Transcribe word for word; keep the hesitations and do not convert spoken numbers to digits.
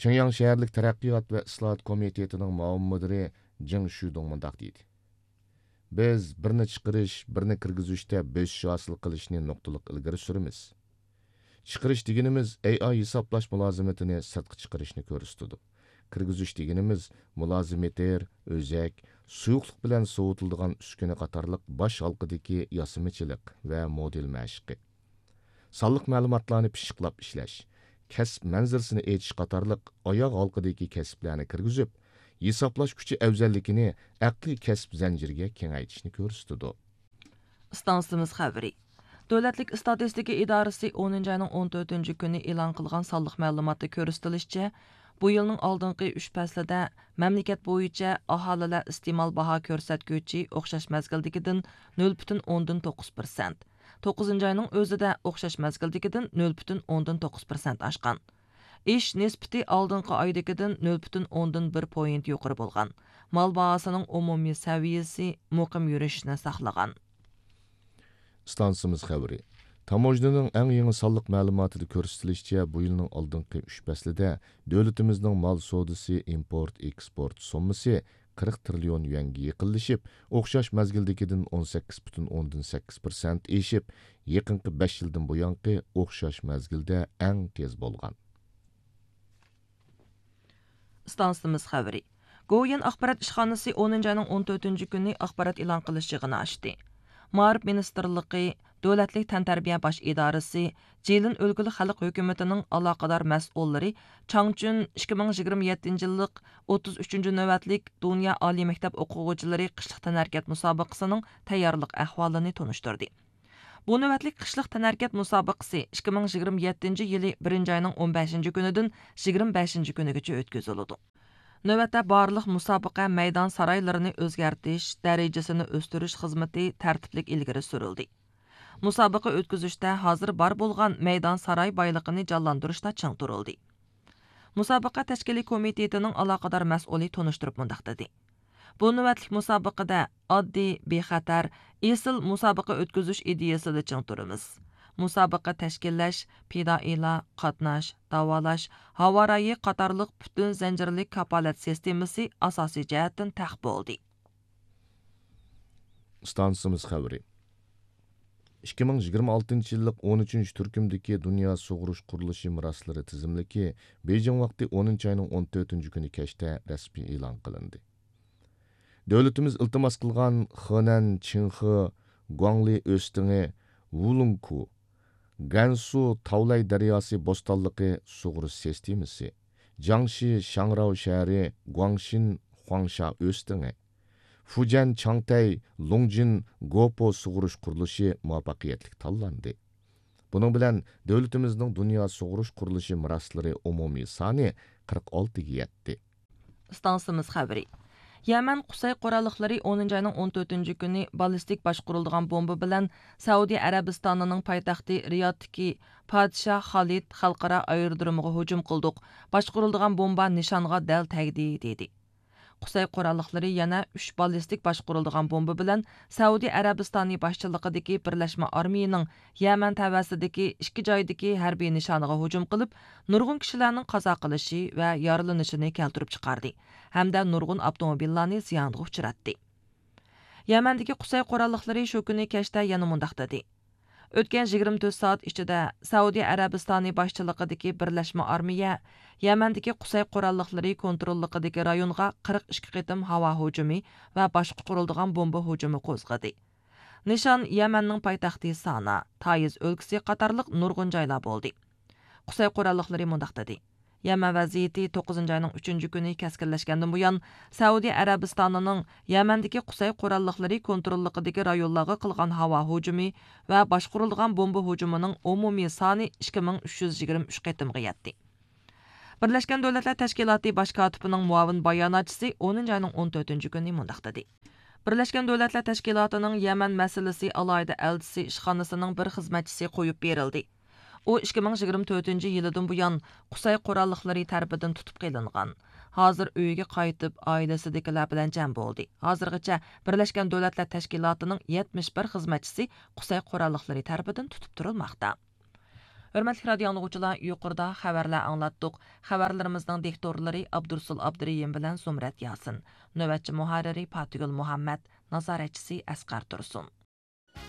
پىڭياڭ شەھەرلىك تەرەققىيات ۋە ئىسلاھات كومىتېتىنىڭ مۇئاۋىن مۇدىرى جېڭ شۈدۇڭ مۇنداق دېدى: بىز بىرنى چىقىرىش، بىرنى كىرگۈزۈشتە بۆسۈش ھاسىل قىلىشنى نۇقتىلىق ئىلگىرى سۈرىمىز. چىقىرىش دېگىنىمىز ئەي ئاي ھېسابلاش مۇلازىمىتىنى سىرتقا چىقىرىشنى كۆرسىتىدۇ. كىرگۈزۈش دېگىنىمىز مۇلازىمېتىر، ئۆزەك، سۇيۇقلۇق بىلەن سوۋۇتۇلىدىغان ئۈسكۈنە قاتارلىق باش ھالقىدىكى ياسىمىچىلىق ۋە مودېل مەشىقى. سانلىق مەلۇماتلارنى پىششىقلاپ ئىشلەش، كەسىپ مەنزىرىسىنى ئېچىش قاتارلىق ئاياغ ھالقىدىكى كەسىپلەرنى كىرگۈزۈپ، ھېسابلاش كۈچى ئەۋزەللىكىنى ئەقلىي كەسىپ زەنجىرىگە كېڭەيتىشنى كۆرسىتىدۇ. ئىستانسىمىز خەۋىرى. دۆلەتلىك ئىستاتىستىكا ئىدارىسى ئونىنچى ئاينىڭ ئون تۆتىنچى كۈنى ئېلان قىلغان سانلىق مەلۇماتتا كۆرسىتىلىشىچە، بۇ يىلنىڭ ئالدىنقى ئۈچ پەسلىدە مەملىكەت بويىچە ئاھالىلەر ئىستېمال باھا كۆرسەتكۈچى ئوخشاش مەزگىلدىكىدىن نۆل پۈتۈن ئوندىن توققۇز پىرسەنت، توققۇزىنچى ئاينىڭ ئۆزىدە ئوخشاش مەزگىلدىكىدىن نۆل پۈتۈن ئوندىن توققۇز پىرسەنت ئاشقان. ئېشىش نىسبىتى ئالدىنقى ئايدىكىدىن نۆل پۈتۈن ئوندىن بىر پوينت يۇقىرى بولغان. مال باھاسىنىڭ ئومۇمىي سەۋىيەسى مۇقىم يۈرۈشىنى ساقلىغان. ئىستانسىمىز خەۋىرى. تاموژنىنىڭ ئەڭ يېڭى سانلىق مەلۇماتىدا كۆرسىتىلىشىچە، بۇ يىلنىڭ ئالدىنقى ئۈچ پەسلىدە دۆلىتىمىزنىڭ مال سودىسى، ئىمپورت، ئېكسپورت سوممىسى قىرىق تىرىليون يۈەنگە يېقىنلىشىپ، ئوخشاش مەزگىلدىكىدىن ئون سەككىز پۈتۈن ئوندىن سەككىز پىرسەنت ئېشىپ، يېقىنقى بەش يىلدىن بۇيانقى ئوخشاش مەزگىلدە ئەڭ تېز بولغان. ئىستانسىمىز خەۋىرى. گوۋۇيۈەن ئاخبارات ئىشخانىسى ئونىنچى ئاينىڭ ئون تۆتىنچى كۈنى ئاخبارات ئېلان قىلىش يىغىنى ئاچتى. مائارىپ مىنىستىرلىقى، دۆلەتلىك تەنتەربىيە باش ئىدارىسى، جىلىن ئۆلكىلىك خەلق ھۆكۈمىتىنىڭ ئالاقىدار مەسئۇللىرى چاڭچۈن ئىككى مىڭ يىگىرمە يەتتىنچى يىللىق ئوتتۇز ئۈچىنچى نۆۋەتلىك دۇنيا ئالىي مەكتەپ ئوقۇغۇچىلىرى قىشلىق تەنھەرىكەت مۇسابىقىسىنىڭ تەييارلىق ئەھۋالىنى تونۇشتۇردى. بۇ نۆۋەتلىك قىشلىق تەنھەرىكەت مۇسابىقىسى ئىككى مىڭ يىگىرمە يەتتىنچى يىلى بىرىنچى ئاينىڭ ئون بەشىنچى كۈنىدىن يىگىرمە بەشىنچى كۈنىگىچە ئۆتكۈزۈلىدۇ. نۆۋەتتە بارلىق مۇسابىقە مەيدان سارايلىرىنى ئۆزگەرتىش، دەرىجىسىنى ئۆستۈرۈش خىزمىتى تەرتىپلىك ئىلگىرى سۈرۈلدى. مۇسابىقە ئۆتكۈزۈشتە ھازىر بار بولغان مەيدان ساراي بايلىقىنى جانلاندۇرۇشتا چىڭ تۇرۇلدى. مۇسابىقە تەشكىلىي كومىتېتىنىڭ ئالاقىدار مەسئۇلى تونۇشتۇرۇپ مۇنداق دېدى: بۇ نۆۋەتلىك مۇسابىقىدە ئاددىي، بىخەتەر، ئېسىل مۇسابىقە ئۆتكۈزۈش ئىدىيەسىدە چىڭ تۇرىمىز. مۇسابىقە تەشكىللەش، پىدائىيلار، قاتناش، داۋالاش، ھاۋا رايى قاتارلىق پۈتۈن زەنجىرلىك كاپالەت سىستېمىسى ئاساسىي جەھەتتىن تەق بولدى. ئىستانسىمىز خەۋىرى. ئىككى مىڭ يىگىرمە ئالتىنچى يىللىق ئون ئۈچىنچى تۈركۈمدىكى دۇنيا سۇغۇرۇش قۇرۇلۇشى مىراسلىرى تىزىملىكى بېيجىڭ ۋاقتى ئونىنچى ئاينىڭ ئون تۆتىنچى كۈنى كەچتە رەسمىي ئېلان قىلىندى. دۆلىتىمىز ئىلتىماس قىلغان خېنەن چىڭخې گۇاڭلى ئۆستىڭى، ۋۇلۇڭكۇ، گەنسۇ تاۋلاي دەرياسى بوستانلىقى سۇغۇرۇش سىستېمىسى، جياڭشى شاڭراۋ شەھىرى گۇاڭشىن خۇاڭشا ئۆستىڭى، فۇجيەن چاڭتەي لۇڭجىن گوپو سۇغۇرۇش قۇرۇلۇشى مۇۋەپپەقىيەتلىك تاللاندى. بۇنىڭ بىلەن دۆلىتىمىزنىڭ دۇنيا سۇغۇرۇش قۇرۇلۇشى مىراسلىرى ئومۇمىي سانى قىرىق ئالتىگە يەتتى. ئىستانسىمىز خەۋىرى. يەمەن قۇسەي قوراللىقلىرى ئونىنچى ئاينىڭ ئون تۆتىنچى كۈنى باللىستىك باشقۇرۇلىدىغان بومبا بىلەن سەئۇدى ئەرەبىستانىنىڭ پايتەختى رىيادتىكى پادىشاھ خالىد خەلقئارا ئايرودرومىغا ھۇجۇم قىلدۇق. باشقۇرۇلىدىغان بومبا نىشانغا دەل تەگدى، دېدى. قۇسەي قوراللىقلىرى يەنە ئۈچ باللىستىك باشقۇرۇلىدىغان بومبا بىلەن سەئۇدى ئەرەبىستانى باشچىلىقىدىكى بىرلەشمە ئارمىيىنىڭ يەمەن تەۋەسىدىكى ئىككى جايدىكى ھەربىي نىشانىغا ھۇجۇم قىلىپ، نۇرغۇن كىشىلەرنىڭ قازا قىلىشى ۋە يارىلىنىشىنى كەلتۈرۈپ چىقاردى ھەمدە نۇرغۇن ئاپتوموبىللارنى زىيانغا ئۇچراتتى. يەمەندىكى قۇسەي قوراللىقلىرى شۇ كۈنى كەچتە يەنە مۇنداق دېدى: ئۆتكەن يىگىرمە تۆت سائەت ئىچىدە سەئۇدى ئەرەبىستانى باشچىلىقىدىكى بىرلەشمە ئارمىيە يەمەندىكى قۇسەي قوراللىقلىرى كونتروللۇقىدىكى رايونغا قىرىق ئىككى قېتىم ھاۋا ھۇجۇمى ۋە باشقۇرۇلىدىغان بومبا ھۇجۇمى قوزغىدى. نىشان يەمەننىڭ پايتەختى سانا، تائىز ئۆلكىسى قاتارلىق نۇرغۇن جايلار بولدى. قۇسەي قوراللىقلىرى مۇنداق دېدى: يەمەن ۋەزىيىتى توققۇزىنچى ئاينىڭ ئۈچىنچى كۈنى كەسكىنلەشكەندىن بۇيان، سەئۇدى ئەرەبىستانىنىڭ يەمەندىكى قۇسەي قوراللىقلىرى كونتروللۇقىدىكى رايونلارغا قىلغان ھاۋا ھۇجۇمى ۋە باشقۇرۇلىدىغان بومبا ھۇجۇمىنىڭ ئومۇمىي سانى ئىككى مىڭ ئۈچ يۈز يىگىرمە ئۈچ قېتىمغا يەتتى. بىرلەشكەن دۆلەتلەر تەشكىلاتى باش كاتىپىنىڭ مۇئاۋىن باياناتچىسى ئونىنچى ئاينىڭ ئون تۆتىنچى كۈنى مۇنداق دېدى: بىرلەشكەن دۆلەتلەر تەشكىلاتىنىڭ يەمەن مەسىلىسى ئالاھىدە ئەلچىسى ئىشخانىسىنىڭ بىر خىزمەتچىسى قويۇپ بېرىلدى. ئۇ ئىككى مىڭ يىگىرمە تۆتىنچى يىلىدىن بۇيان قۇسەي قوراللىقلىرى تەرىپىدىن تۇتۇپ قېلىنغان. ھازىر ئۆيىگە قايتىپ، ئائىلىسىدىكىلەر بىلەن جەم بولدى. ھازىرغىچە بىرلەشكەن دۆلەتلەر تەشكىلاتىنىڭ يەتمىش بىر خىزمەتچىسى قۇسەي قوراللىقلىرى تەرىپىدىن تۇتۇپ تۇرۇلماقتا. ھۆرمەتلىك رادىيو ئاڭلىغۇچىلار، يۇقىرىدا خەۋەرلەر ئاڭلاتتۇق. خەۋەرلىرىمىزنىڭ دىكتورلىرى ئابدۇرسۇل ئابدۇرېھىم بىلەن زۇمرەت ياسىن، نۆۋەتچى مۇھەررىرى پاتىگۈل مۇھەممەد، نازارەتچىسى ئەسقەر تۇرسۇن.